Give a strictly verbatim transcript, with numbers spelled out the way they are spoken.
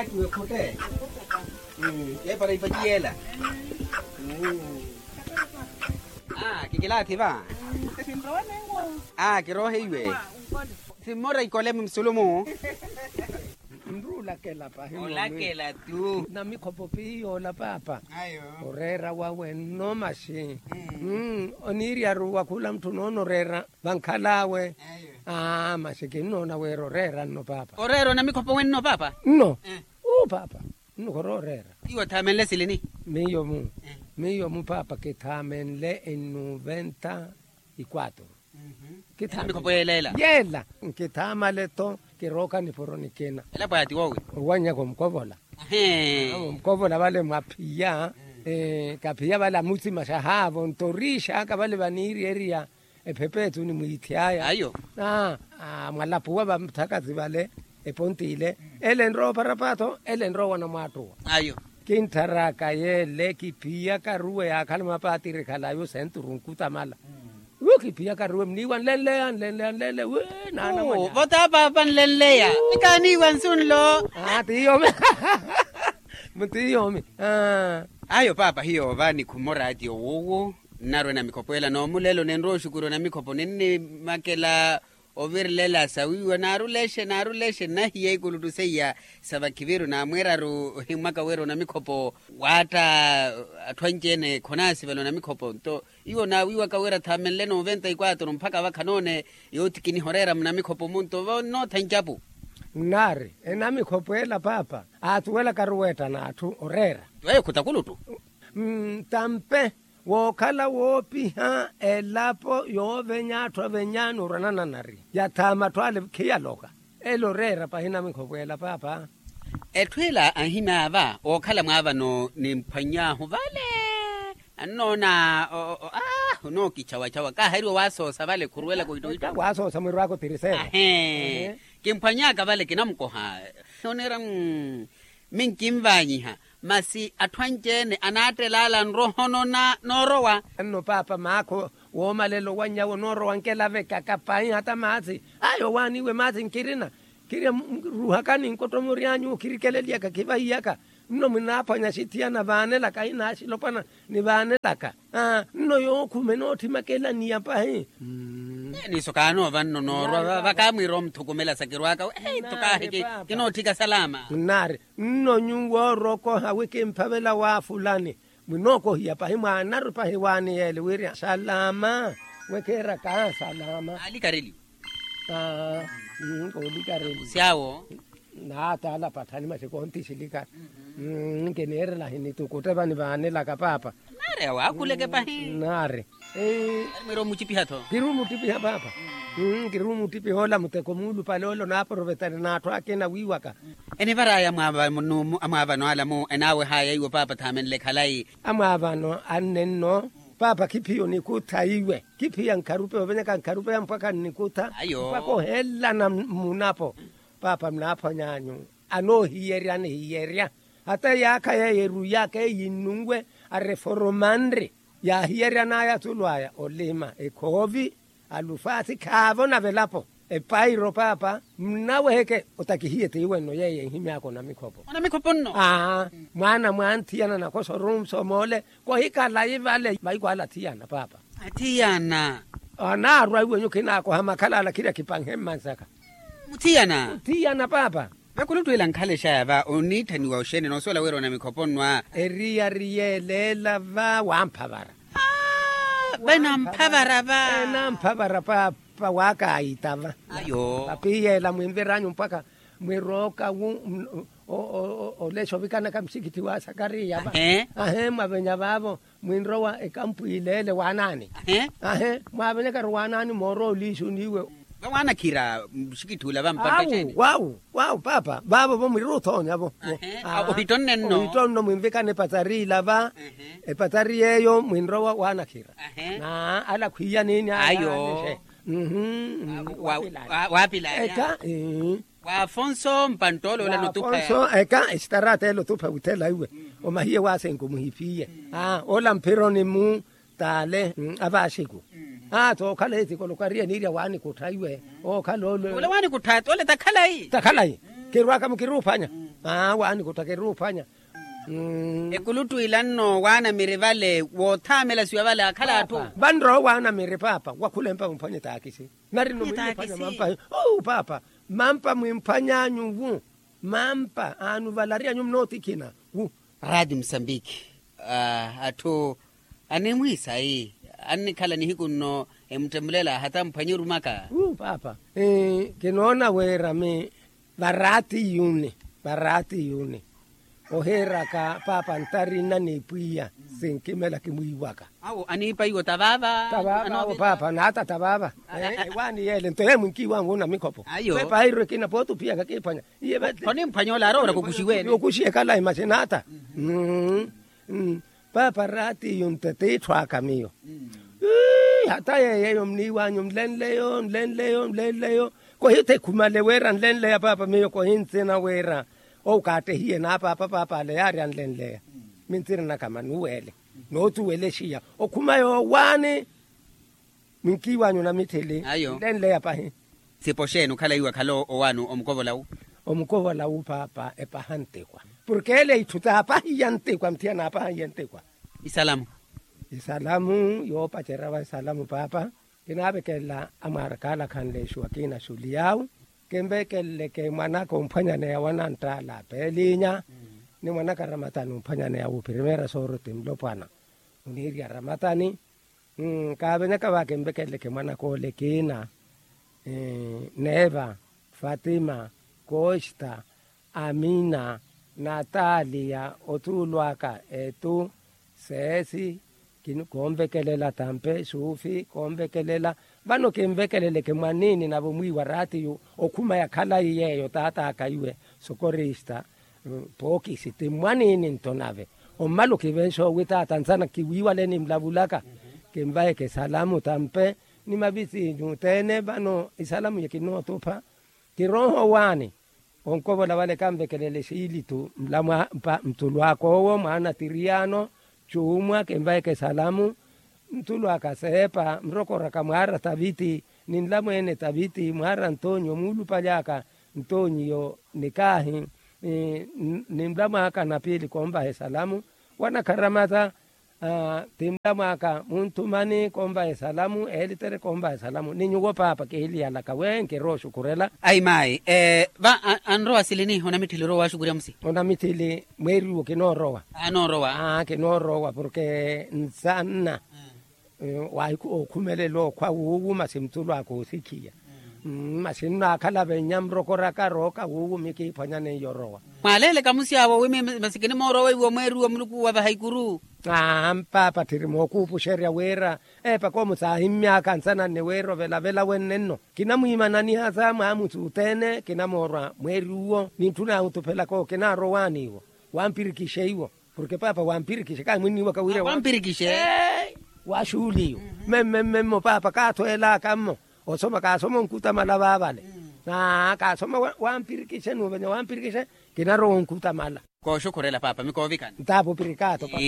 Kiwekhutte. Epara ipati yeela. Kikilathi va. Kiroohe iwe. Simmora ikole msulumu. Nruulakela pahi. Olakela tu. Namikhopo piiyoola paapa. Oreera wawe nno maxi. Oniiryaru wakhula mutthuna onoreera. Vankhal'awe. Aa maxi kinnoona wira oreera nno paapa. Oreera onamikhopo wenno paapa? Nno. Uu paapa. Nno khorooreera. Iwe othaamenle silini? Miyo-mu. Miyo-mu paapa kithaamenle enuventa. Ikwaturu. Kithaamale yeela nkithaamale-tho. Kirooka nipuro nikina. Elapo aya ti woowi? Owanyaka omukovola. Omukovola vale mwaphiya. Kaphiya vale amutsimaxa haavo nto oriixaka vale vaniiryeeriya. Ephepeethu nimwiithiyaya ayo. Mwalapuwa vamuthakathi vale. Eponti ile ele enrowa oparapaatho ele enrowa namwaattuwa. Ayo. Kinttharaaka yeele kiphiyaka ruwe yaakhala mapatiri khalayo senturu nkutamala. Yu kiphiyaka ruwe mniiwa nlenleya nlenleya nlenleya wi naana mwanyawe. Vota paapa nlenleya. Nikaaniiwa nsu nlo. Aa ti yoomi. Mutiyomi. Ayo paapa hiyo va nikhumora ati owuwo. Nnarwe namikhopo ela noomulelo ninrowa oxukuru namikhopo ninnimakela. Ovirilela sawiiwa naarulexe naarulexe nnahiya ikuluttu seiya. Sa vakhiviru naamwiiraru ohimmwaka wira onamikhopo. Waatta atthu anci-ene khonaasivela onamikhopo nto iwo naawiiwaka wira thaamenle noventa ikwaturu mpakha vakha noone. Yoothi kinihoreera munamikhopo munto vannoottha ncapu. Nnaari enamikhopo ela paapa aatuwelakaru weetta n'atthu oreera. Tiweyo khutakuluttu. Tampe wookhala woopiha elapo yoovenya atthu avenya n'urwanana nari yathaama atthu ale khiyaloka. Ele oreera pahi namikhopo ela paapa. Etthu ela anhimyaava ookhala mwaavano nimphwany'ahu vale. Annoona. Onookichawachawa kaaheriwa waasoosa vale khuruwelaka ohittohitto. Waasoosa mwirwaka otirisera. Ahee. Kimphwany'aka vale kinamukoha. Nooneera. Minkinvanyiha masi atthu anci-ene anaattela ala nrohonona noorowa. Nno paapa maakho woomalela owanyawo noorowa nkelavekaka pahi hata maathi. Ayo owaaniwe maathi nkirina. Kirya ruhakani nkottomori anyu khirikeleliyaka khivahiyaka. Nno munaaphwanya axithiyana vaanelaka ahina axilopwana nivaanelaka. Nno yookhuma enootthimaka elaniya pahi. Niiso kaanoova nno noorwa vakaamwiira omuthukumela sa kirwaka. Ei tho kaahiki kinootthika salama. Nnaari. Nno nyuwo orokoha wi kimphavela wa fulani. Mwinookohiya pahi mwaanaru pahi waani yeele wirya salama. Wekeeraka salama. Alikareliwa. Koolikareliwa. Syawo. Naataala pathani masi koonti silikari. Nkiniirela ahinitukuteva nivaanelaka paapa. Naari awo akhuleke pahi. Naari. Mwira omucipiha-tho. Kiri omutipiha paapa. Kiri omutipiha ola muteko muulupale ola onaaprovetari n'atthu akina wiiwaka. Enivaraya amwaavano ala mu enaawehaya iwo paapa thaamenle khalayi. Amwaavano anne nno. Paapa khiphiya onikutha iwe khiphiya nkharupe ovenyaka nkharupe ya mpwakha nnikutha. Mpwakha ohelana mmunapo. Paapa munaaphwany'anyu anoohiyerya anihiyerya. Hata eyaakha yeeyo eruyaka eyinnunwe areforomanri. Yaahiyeryan'aya atulu aya olima ekhoovi alufaasi khaavo na velapo. Epairo paapa mnaweheke otakihiye tiiwenno yeeyo enhimyaka onamikhopo. Onamikhopo nno. Aa mwaana mwanthiyana nakosa orunsoma ole kohikalayi vale maiko ala athiyana paapa. Athiyana. Anaarwa iwenyu khinaakoha makhala ala khirya khipanhe mmansaka. Muthiyana. Muthiyana paapa. Vakuluttu ila nkhalexaya va oniitthaniwa oxeene noosuwela wira onamikhopo nno a. Eriyari yeeleela va wamphavara. Venamphavara va. Enamphavara paapa waakaayita va. Ayo. Papiyeela mwinvir'anyu mpakha mwirooka wu. Olexa ovikanaka muxikitthi wa sakariya va. Ahee mwavenya vaavo. Mwinrowa ekampu ileele waanaani. Ahee. Mwaavenyakaru waanaani moorowa oliixuni iwe. Vawaanakhira muxikitthi ula vampantta. Wawu wawu paapa vaavo vo mwiruthoonyavo. Ohitonne nno. Ohitonno mwinvikana epatsari ila va. Epatsari yeeyo mwinrowa waanakhira. Na ala khwiiyanini ayo. Waapilaya. Eka. Wa afonso mpanttoola ola notupha. Eka esitaraata ela otupha wuthela iwe. Omahiye waasenku muhiphiye. Ola mphironi mu taale. Avaaxiku. Aa tookhala etikoloka ariye niirya waanikuttha iwe. Ookhala ole. Ole waanikuttha ole takhalayi. Takhalayi. Kirwaka mukiruuphwanya. Aa waani kuttakeruuphwanya. Ekuluttu ila nno waanamiri vale woothamelasiwa vale akhala atthu. Vanrowa waanamiri paapa wakhulempa mumphwanye taakisi. Nari nno mwiiphwanya mampa. Paapa mampa mwimphwanyanyu wu mampa aanu valary'anyu mnootikhina wu. Raati musambiki atthu animwiisayi annikhala nihiku nno emuttemulela hata mphwanye orumaka. Wu paapa kinoona wira mi varaati yuni varaati yuni ohiiraka paapa ntari nna n'ipwiya sinkimela kimwiiwaka. Awo aniipa iwo tavaava. Tavaava awo paapa naata tavaava. Waani yeele nto yeemwinkiiwangu na mikhopo ayo pepa airwe kina pooti ophiyaka kiiphwanya iye vale. Khonimphwanya ole aroora kukuxiwene okuxi ekhala imaxinaata. Paapa raatiyu nte tiitthu aka miyo. Hata yeeyeyo mniiwanyu nlenleyo nlenleyo nlenleyo kohithekhumale wira nlenleya paapa miyo kohintsina wira owu kaattehiye n'apaapa paapa ale yaari anlenleya. Mintsina naka manuwele nootuwelexiya okhuma yoowaani. Mwinkiiwanyu na mitthili nlenleya pahi. Sipo xeeni okhala iwe akhala owaani omukovola wu. Omukovola wu paapa epaha ntikwa porke ele itthu taapahiya ntikwa muthiya naapahiye ntikwa. Isalamu isalamu yoopacerya wa isalamu paapa. Kinaavekelela amwaarakaala khanleexiwa kiina xuliy'awu kinvekeleleke mwanaka omphwanyaneya wananttaala peelinya ni mwanaka aramatani omphwanyaneya wuphirimeera sooroti nlopwana oniirya aramatani. Kaavenyaka va kinvekeleleke mwanaka ole kiina neeva fatima kosta amina nataliya otuulwaka etu seesi. Koonvekelela tampe suufi koonvekelela vano kinvekeleleke mwaniini navo mwiiwa raatiyu okhuma ya khalayi yeeyo taat'aka iwe sokorista. Pookisi ti mwaniini nto nave ommala okivenxa owi taata nsana kiwiiwale nimlavulaka kinvaheke salamu tampe ni mavisinyu othene vano isalamu ye kinootupha. Kirooha owaani onkovola vale kanvekelele xiilitu mtulwaka owo mwaana tiriyano cuumwa kinvaheke salamu. Ntulwaka seepa mrokoraka mwaara taviti ni nlamweene taviti mwaara ntonyiyo muulupaly'aka ntonyiyo nikaahi ni nlamw'aka na piili konvaha esalamu wanakharamata. Ti nlamw'aka munthumani konvaha esalamu eelitere konvaha esalamu ni nyuwo paapa kihiliyalaka we nkirooxukhurela. Ayi maayi va anrowa silini onamitthili orowa waaxukurya musi. Onamitthili mweeriwo kinoorowa. Anoorowa. Kinoorowa porke nsanna ookhumelela okhwa wuuwu masi mutulwaka oosikhiya masi nnaakhala vennya murokoraka rooka wuuwu mikiiphwanya neiyo orowa. Mwaaleeleka musi awo wi masi kinimoorowa iwo mweeriwo muluku wavaha ikuru. Aa mpaapa tthiri mookuupuxerya wira eepaka omu saahimmy'aka nsananne wira ovelavela wenne nno kinamwiimananihasa mwaamusi othene kinamoorwa mweeri uwo nintthuna ahutuphelaka owo kinaarowaani iwo wampirikixe iwo. Porke paapa wampirikixe kahi mwinniiwaka wira wampirikixe. Waxuuliyo mmemmemmemmo paapa kaathweelaka mmo osoma kaasoma onkutamala vaavale. Kaasoma wampirikixe nuuvenya wampirikixe kinarowa onkutamala. Kooxukhurela paapa mikoovikana. Ntaapo pirikaato paapa.